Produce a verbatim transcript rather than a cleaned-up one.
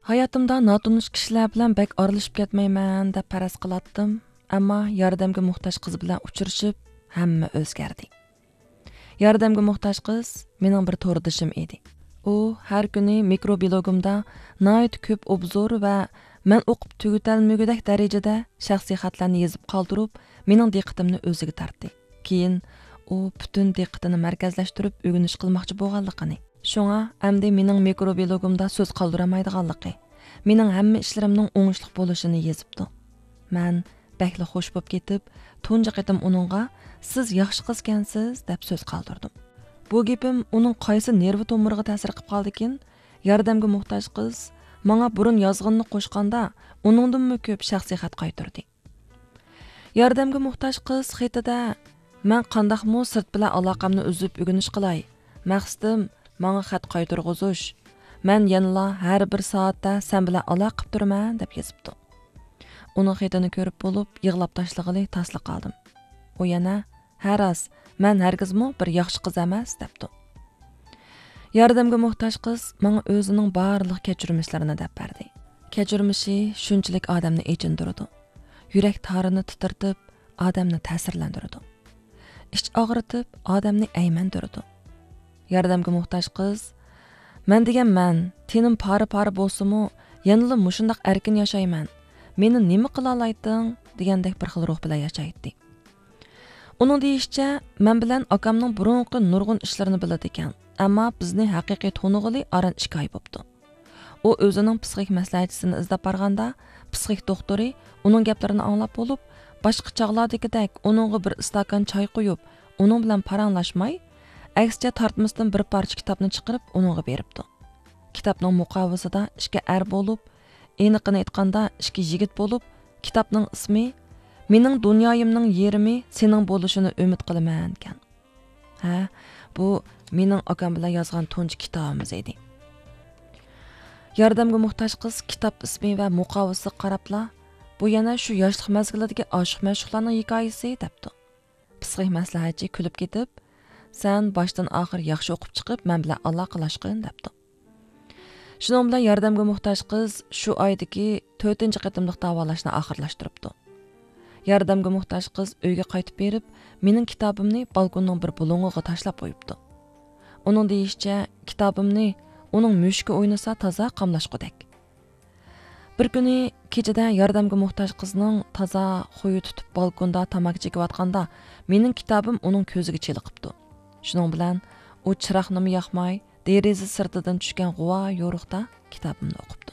ھاياتىمدا ناتونۇش كىشىلەر بىلەن بەك ئارىلىشىپ كەتمەيمەن دەپ پەرەز قىلاتتىم، ئەمما ياردەمگە موھتاج قىز بىلەن ئۇچرىشىپ، ھەممە ئۆزگەردى. ياردەمگە موھتاج قىز مېنىڭ بىر توردىشىم ئىدى. ئۇ ھەر كۈنى مىكرو بىلوگۇمدا ناھايىتى كۆپ ئوبزور ۋە مەن ئوقۇپ تۈگىتەلمىگۈدەك دەرىجىدە شەخسىي خەتلەرنى يېزىپ قالدۇرۇپ، مېنىڭ دىققىتىمنى ئۆزىگە تارتتى. كېيىن ئۇ پۈتۈن دىققىتىنى مەركەزلەشتۈرۈپ ئۆگىنىش قىلماقچى بولغانلىقىنى، شۇڭا ئەمدى مېنىڭ مىكرو بىلوگۇمدا سۆز قالدۇرالمايدىغانلىقى، مېنىڭ ھەممە ئىشلىرىمنىڭ ئوڭۇشلۇق بولۇشىنى يېزىپتۇ. مەن بەكلا خوش بوپ كېتىپ، تۇنجى قېتىم ئۇنىڭغا «سىز ياخشى قىزكەنسىز» دەپ سۆز قالدۇردۇم. بۇ گېپىم ئۇنىڭ قايسى نېرۋا تومۇرىغا تەسىر قىلىپ قالدىكىن، ياردەمگە موھتاج قىز ماڭا بۇرۇن يازغىنىنى قوشقاندا، ئۇنىڭدىنمۇ كۆپ شەخسىي خەت قايتۇردى. ياردەمگە موھتاج قىز خېتىدە، «مەن قانداقمۇ سىرت بىلەن ئالاقەمنى ئۈزۈپ ئۆگىنىش قىلاي؟ مەقسىتىم، ماڭا خەت قايتۇرغۇزۇش. مەن يەنىلا ھەر بىر سائەتتە سەن بىلەن ئالاقە قىپ تۇرىمەن» دەپ يېزىپتۇ. ئۇنىڭ خېتىنى كۆرۈپ بولۇپ، يىغلاپ تاشلىغىلى تاسلا قالدىم. ئۇ يەنە، «ھە راست، مەن ھەرگىزمۇ بىر ياخشى قىز ئەمەس» دەپتۇ. ياردەمگە موھتاج قىز ماڭا ئۆزىنىڭ بارلىق كەچۈرمىشلىرىنى دەپ بەردى. كەچۈرمىشى شۇنچىلىك ئادەمنى ئېچىندۇرىدۇ. يۈرەك تارىنى تىترىتىپ، ئادەمنى تەسىرلەندۈرىدۇ. ئىچ ئاغرىتىپ، ئادەمنى ئەيمەندۈرىدۇ. ياردەمگە موھتاج قىز، «مەن دېگەن مەن، تېنىم پارە-پارە بولسىمۇ، يەنىلا مۇشۇنداق ئەركىن ياشايمەن. مېنى نېمە قىلالايتتىڭ؟» دېگەندەك بىر خىل روھ بىلەن ياشايتتى. ئۇنىڭ دېيىشىچە، مەن بىلەن ئاكامنىڭ بۇرۇنقى نۇرغۇن ئىشلىرىنى بىلىدىكەن، ئەمما بىزنى ھەقىقىي تونۇغىلى ئاران ئىككى ئاي بوپتۇ. ئۇ ئۆزىنىڭ پسىخىك مەسلىھەتچىسىنى ئىزدەپ بارغاندا، پسىخىك دوختۇرى ئۇنىڭ گەپلىرىنى ئاڭلاپ بولۇپ، باشقا چاغلاردىكىدەك ئۇنىڭغا بىر ئىستاكان چاي قۇيۇپ، ئۇنىڭ بىلەن پاراڭلاشماي، ئەكسىچە تارتمىسىدىن بىر پارچە كىتابنى چىقىرىپ ئۇنىڭغا بېرىپتۇ. كىتابنىڭ مۇقاۋىسىدا ئىككى ئەر بولۇپ، ئېنىقىنى ئېيتقاندا ئىككى يىگىت بولۇپ، كىتابنىڭ ئىسمى «مېنىڭ دۇنيايىمنىڭ يېرىمى سېنىڭ بولۇشىنى ئۈمىد قىلىمەن» ئىكەن. ھە، بۇ مېنىڭ ئاكام بىلەن يازغان تۇنجى كىتابىمىز ئىدى. ياردەمگە موھتاج قىز كىتاب ئىسمى ۋە مۇقاۋىسىغا قاراپلا، «بۇ يەنە شۇ ياشلىق مەزگىلىدىكى ئاشىق-مەشۇقلارنىڭ ھېكايىسى» دەپتۇ. پسىخىك مەسلىھەتچى كۈلۈپ كېتىپ، «سەن باشتىن-ئاخىر ياخشى ئوقۇپ چىقىپ، مەن بىلەن ئالاقىلاشقىن» دەپتۇ. شۇنىڭ بىلەن ياردەمگە موھتاج قىز شۇ ئايدىكى تۆتىنچى قېتىملىق داۋالاشنى ئاخىرلاشتۇرۇپتۇ. ياردەمگە موھتاج قىز ئۆيگە قايتىپ بېرىپ، مېنىڭ كىتابىمنى بالكوننىڭ بىر بۇلۇڭىغا تاشلاپ قويۇپتۇ. ئۇنىڭ دېيىشىچە، كىتابىمنى ئۇنىڭ مۈشۈكى ئوينىسا تازا قاملاشقۇدەك. بىر كۈنى كېچىدە ياردەمگە موھتاج قىزنىڭ تازا خۇيى تۇتۇپ بالكوندا تاماكا چېكىۋاتقاندا، مېنىڭ كىتابىم ئۇنىڭ كۆزىگە چېلىقىپتۇ. شۇنىڭ بىلەن ئۇ چىراغنىمۇ ياقماي، دېرىزە سىرتىدىن چۈشكەن غۇۋا يورۇقتا كىتابىمنى ئوقۇپتۇ.